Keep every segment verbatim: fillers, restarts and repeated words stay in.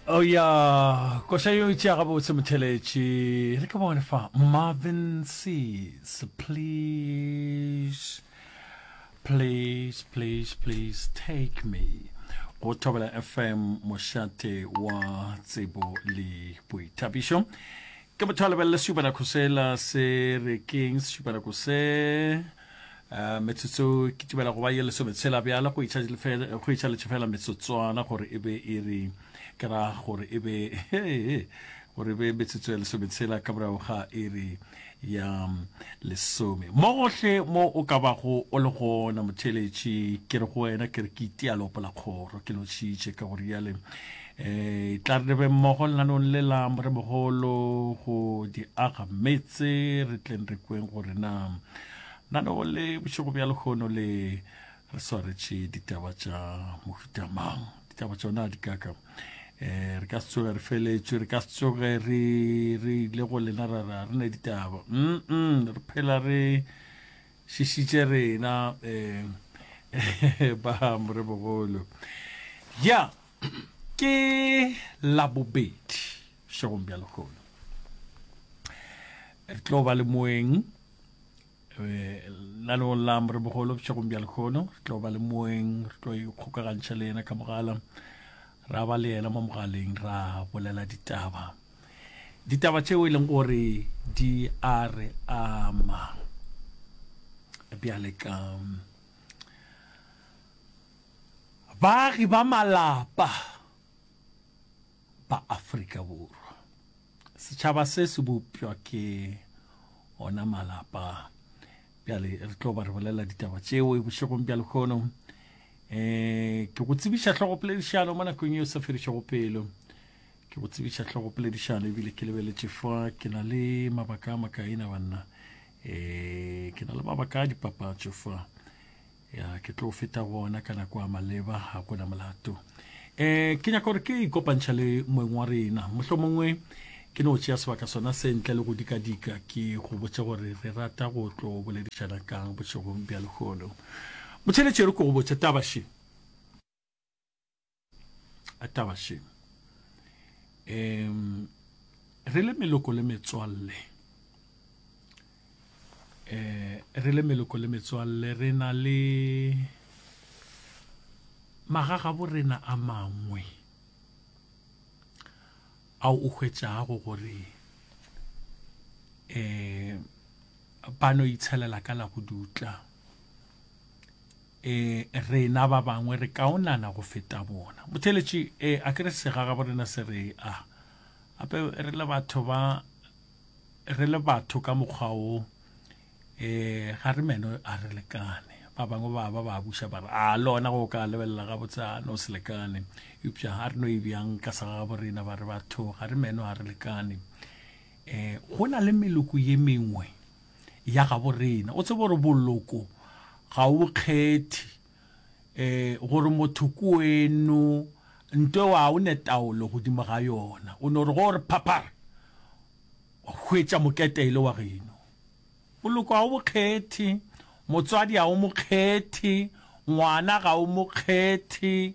Oh ya, koša yo e tšea gabotse motheletši. Re ke bone fa Marvin Seas, please, please, please, please take me. Go Thobela F M, mošate wa tsebo le boithabišo. Ke motho a lebelele sešupanako sela se re keng sešupanako se uh, metsotso ke tibela go ba ye lesometshela bjale go itšhaletše fela metsotswana gore e be e re ke ra gore e be gore e be metsotso ya lesometshela ka morago ga iri ya lesome. Mo gohle mo o ka bago o le gona motheletši, ke re go wena ke re ke itia leopo la kgoro, ke lotšhitše ka gore yale um tla re be mmogo lenanong le la moremogolo go di aga metse, re tleng re kweng gore na naneo le bošego bja lehono le re swaretše ditaba tša mohuta mang. Ditaba tšona di kaka um re ka se tsoge re feletšwe, re ka se tsoge re re ile go lena ra ra re ne ditaba mm re phela re šišitše rena um ba morebogolo. Ya ke Labobedi bošegong bja lehono, re tlo ba le moeng lenaneong la morebogolo bošegong bja lehono. Re tlo ba le moeng, re tlo ikgokagantšha le yena ka mogala, ra ba le yena mo mogaleng, ra bolela ditaba, ditaba tšeo e leng gore di a re ama bjale ka baagi ba malapa ba Afrika Borwa. Setšhaba se se bopšwa ke ona malapa. Bjale re tlo ba re bolela ditaba tšeo bošegong bja lehono. um ke go tsebiša hlogopoledišano mo nakong yeo sa fedišego pelo. Ke go tsebiša hlogopoledišano ebile ke lebeletše fa ke na le mabaka a makaina banna, um ke na le mabaka a dipapatšo fa, ya ke tlo feta gona ka nako ya maleba, ga gona molato. um ke nyaka gore ke ikopantšha le moeng wa rena, mohlomongwe ke no tšea sebaka sona se ntle le go dikadika ke go botše gore re rata go tlo boledišana kang bošegong bja lehono. Motheletši, re ko go botše taba še, taba še. um re le meloko le metswalle, um re le meloko le metswalle re na le magagabo rena a mangwe ao o hwetšago gore um ba no itshelela ka la go dutla, um rena ba bangwe re kaonana go feta bona. Motheletši, um a ke re segagabo rena se re a gape re le batho ba re le batho ka mokgwa wo, um ga re meno a re lekane. Ba bangwe ba ba ba buša ba re a le ona go ka lebelela gabotse a no se lekane, eupša ga re no e bjang ka segagabo rena ba re batho ga re meno a re lekane. um go na le meloko ye mengwe ya gabo rena, o tsebe gore boloko ga o kgethe, um gore motho ko weno nto wa o ne taolo godimo ga yona, o no re go re phaphara wa hwetša moketele wa geno. Boloko ga o bo kgethe, motswadi ga o mo kgethe, ngwana ga o mo kgethe,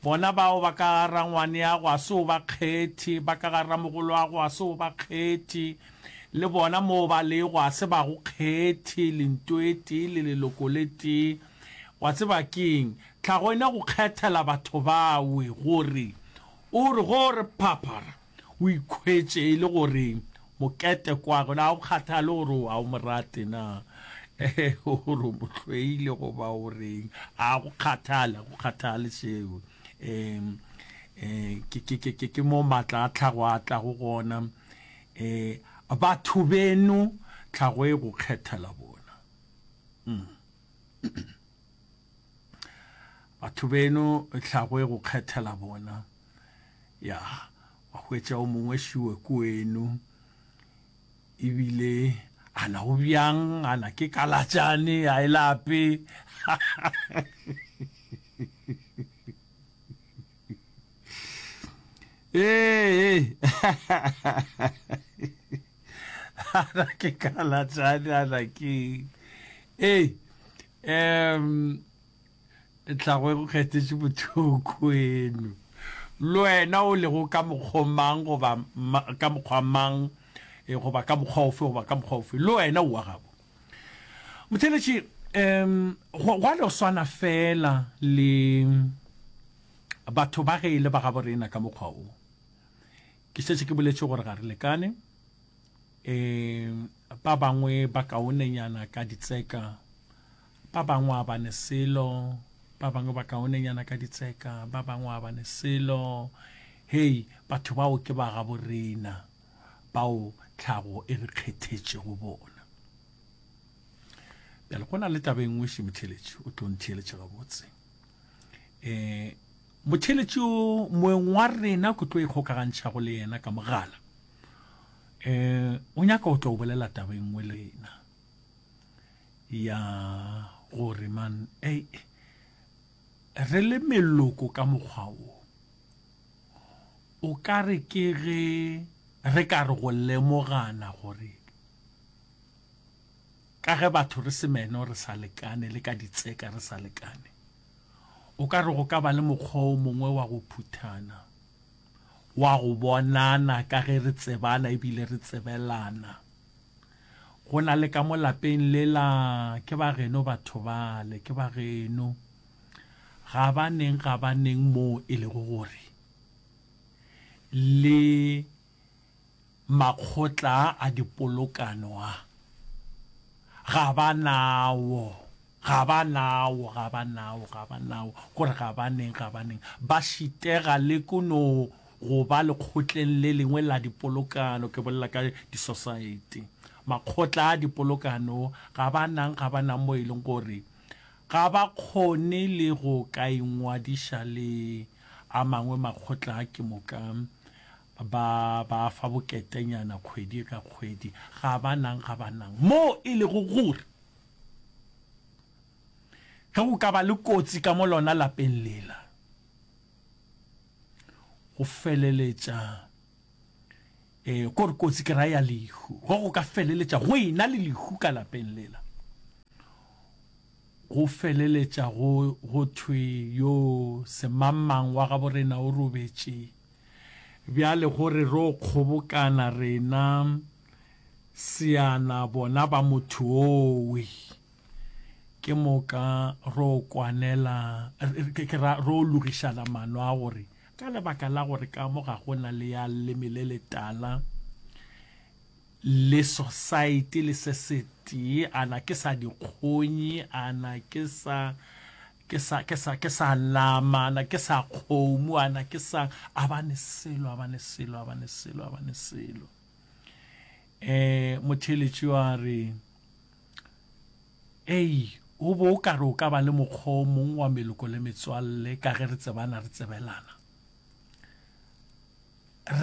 bona bao ba ka ga rangwane ya go a se o ba kgethe, ba ka ga ramogolo wa go a se o ba kgethe, le bona moo ba lego a se ba go kgethe, lento e tee le leloko le tee. Wa tseba keng, tlhago ena go kgethela batho bawe gore o re go re phaphara o ikhwetše e le gore mokete kwagwe na o kgathale gore a o mo rate na, gore o mo hloile goba o reng, a go kgathale, go kgathale seo. um um ke ke ke ke mo maatla a tlhago a tlago gona. um batho beno tlhago e go kgethela bona. mm. Batho beno tlhago e go kgethela bona. Ya wa hwetša o mongwe šiwe kweno ebile ana go bjang, ana ke kalatšane a e lape. Ee, ana ke kalatšane, ana ke ee um tlhago e go kgethetše motho kweno. Le wena o lego ka mokgo mang goba ka mokgwa mang goba ka mokgwa ofe goba ka mokgwa ofe, le wena o wa gabo. Motheeletši, um gwa no swana feela le batho ba ge e le ba gabo rena ka mokgwa wo. Ke šetše ke boletše gore ga re lekane. Um ba bangwe ba kaonenyana ka ditseka, ba bangwe a ba ne selo, ba bangwe ba kaonenyana ka ditseka, ba bangwe a ba ne selo. Hei, batho bao ke ba gabo rena, bao tlhago e re kgethetšego bona. Bjale go na le taba e nngwe še motheeletši, o tlo ntheeletša gabotse. Um motheeletši o moeng wa rena ke tlo ikgokagantšhago le yena ka mogala. Um o nyaka o tlo bolela taba e nngwe le rena ya gore man ei re le meloko ka mokgwa wo o ka re ke ge re ka re go lemogana gore ka ge batho re se meno re sa lekane le ka ditseka re sa lekane, o ka re go ka ba le mokgwa o mongwe wa go phuthana, wa go bonana ka ge re tsebana ebile re tsebelana. Go na le ka mo lapeng lela, ke ba geno batho bale, ke ba geno. Ga ba neng, ga ba neng moo e lego gore le makgotla a dipolokano a, ga ba nawo, ga ba nawo, ga ba nawo, ga ba nawo, gore ga ba neng, ga ba neng, ba šitega le ko no go ba lekgotleng le lengwe la dipolokano, ke bolela ka disosaete, makgotla a dipolokano, ga ba nang, ga ba nang mo e leng gore ga ba kgone le go ka ingwadiša le a mangwe makgotla a ke moka ba ba fa boketenyana kgwedi ka kgwedi, ga ba nang, ga ba nang mo e lego gore ge go ka ba le kotsi ka mo lona lapeng lela, go feleletša eh kore kotsi ke ra ya lehu, go go ka feleletša go ena le lehu ka lapeng lela, go feleletša go go thwe yo semangmang wa gabo rena o robetše. Bjale gore ro kgobokana rena seana bona ba motho owe, ke moka ro kwanela, ke ra ro logišana mano a gore ka lebaka la gore ka mo ga go na le ya leme le letala le society le se setee, ana ke sa dikgonyi, ana ke sa ke sa ke sa ke sa nama, ana ke sa kgomo, ana ke sa a ba ne selo, a ba ne selo, a ba ne selo, a ba ne selo. Eh motheeletši wa re ei o bo o ka re o ka ba le mokgwa o mongwe wa meloko le metswalle ka ge re tsebana re tsebelana,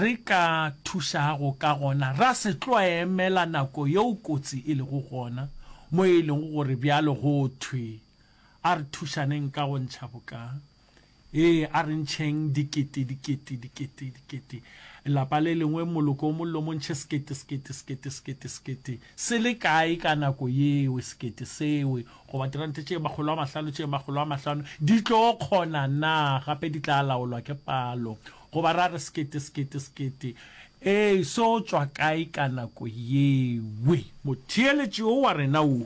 re ka thušago ka gona ra se tlo emela nako yeo kotsi e lego gona mo e lego gore bjalo go thwe a re thušaneng ka go ntšha boka, ee a re ntšheng dikete dikete dikete dikete, lapa le lengwe moloko o mollo mo ntšhe sekete sekete sekete sekete sekete se le kae ka nako yeo, sekete sewe goba dirante tše makgolo a mahlano tše makgolo a mahlano di tlo kgona na, gape di tla laolwa ke palo, goba ra re sekete sekete sekete ee so tšwa kae ka nako yewe. Motheeletši o wa rena wo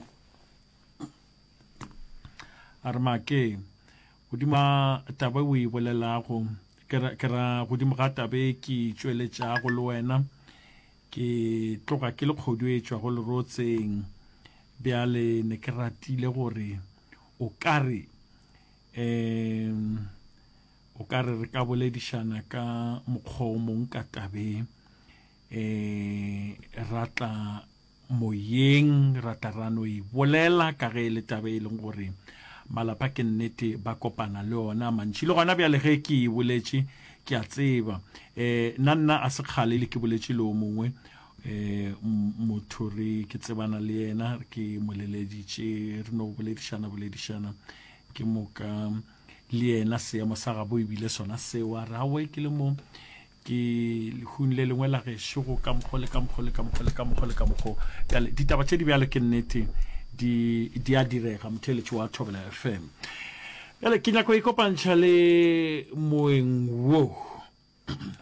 a re make godimo ga taba o e bolelago, ke ra godimo ga taba e ke tšweletšago le wena, ke tloga ke le kgodu e tšwago lerotseng. Bjale ne ke ratile gore o ka re um o ka re re ka boledišana ka mokgwa o mong ka tabeng, um ra tla moyeng, ra tla ra no e bolela ka ge e le taba e leng gore malapa ke nnete ba kopana le ona mantši. Le gona bjale ge ke e boletše ke a tseba um nna nna a se kgale le ke boletše le o mongwe um motho re ke tsebana le yena, ke moleleditše re no boledišana boledišana ke moka le yena seemo sa gabo ebile sona seo, a re aowe ke le mo ke lehung le lengwe la gešo go ka mokgo le ka mokgo le ka mokgo le ka mokgo le ka mokgo. Bjale ditaba tše di bjalo ke nnete di di a direga motheeletši wa Thobela F M. Bjale ke nyako ikopantšha le moeng wo.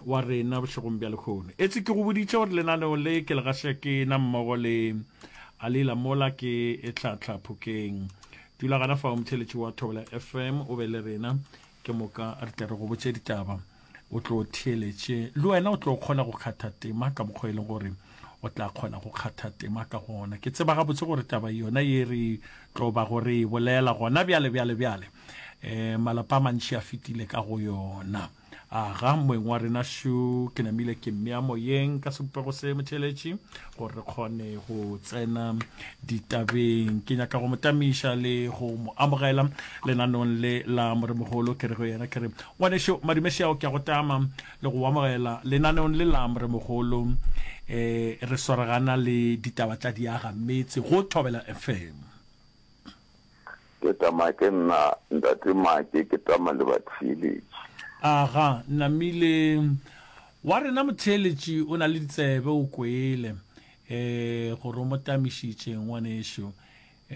wa rena bošegong bja lehono. Etse ke go boditše gore lenaneo le ke le gaša ke na mmogo le Alila mola ke e tlhatla phokeng. Dula gana fao motheletši wa Thobela F M o be le rena, ke moka re tle re go botše ditaba o tlo theeletše le wena o tlo kgona go kgatha tema ka mokgwa e leng gore o tla kgona go kgatha tema ka gona. Ke tseba gabotse gore taba yona ye re tlo ba go re e bolela gona bjale bjale bjale um malapa a mantši a fetile ka go yona. Aga moeng wa rena šo ke namile ke mmea moyeng ka sebopego se motheletši gore re kgone go tsena ditabeng. Ke nyaka go mo tamiša le go mo amogela lenaneong le la Moremogolo. Ke re go yena, ke re ngwanešo madumešao, ke a go tama le go amogela lenaneong le la Moremogolo. um re swaragana le ditaba tša diaga metse go Thobela F M. Ke tama ke nna ntate Make, ke tama le batheeletši. Aga namile wa rena motheeletši o na le ditsebe o kwele um gore o mo tamišitše ngwanešo.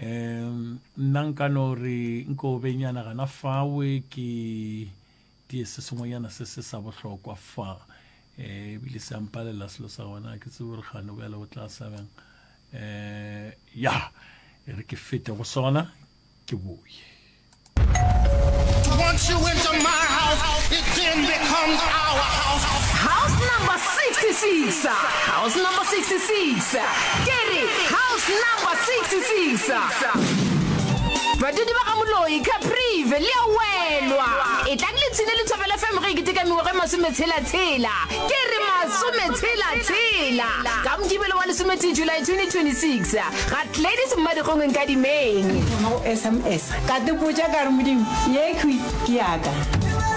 um nna nka no re nko benyana gana fawe ke die se sengwenyana se se sa bohlokwa fa, um ebile se ampalela selo sa gona ke tsebe gore gane bjale o tla sa bjang. um ya e re ke fete go sona ke boye. Once you enter my house, it then becomes our house. House number sixty-six, house number sixty-six, ke re house number sixty-six. Badudi ba ga Moloi, Caprive, le a welwa. Etlang le tshine le Thobela F M ge e keteka mengwaga e masometshela-tshela. Ke re masometshela-tshela. Ka Mokibelo wa lesometee July twenty twenty-six, ga Gladys Mmadikgong Nkadimeng. Thoma go S M S ka tepotša ka re Modimo yekhwi ke yaka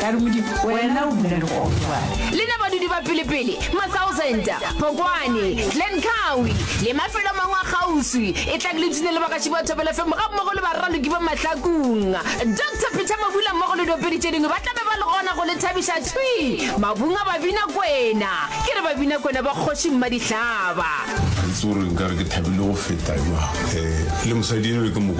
ka re Modimo wena o dula le gona jwale. Lena badudi ba pelepele, Mathousand, Phokwane, Glen Cowie le mafelo a mangwe a kgauswi, etlang le ipshine le bagaši ba Thobela F M gammogo le baraloki ba Mahlakung. Doctor Peter Mabula mmogo le diopedi tše dingwe ba tla be ba le gona go le thabiša thwi mabung a Babina Kwena. Ke re Babina Kwena ba kgoši Mmadihlaba. Ga ke tsebe gore nkare ke thabile go feta jwang. Um le mosadi eno ke mo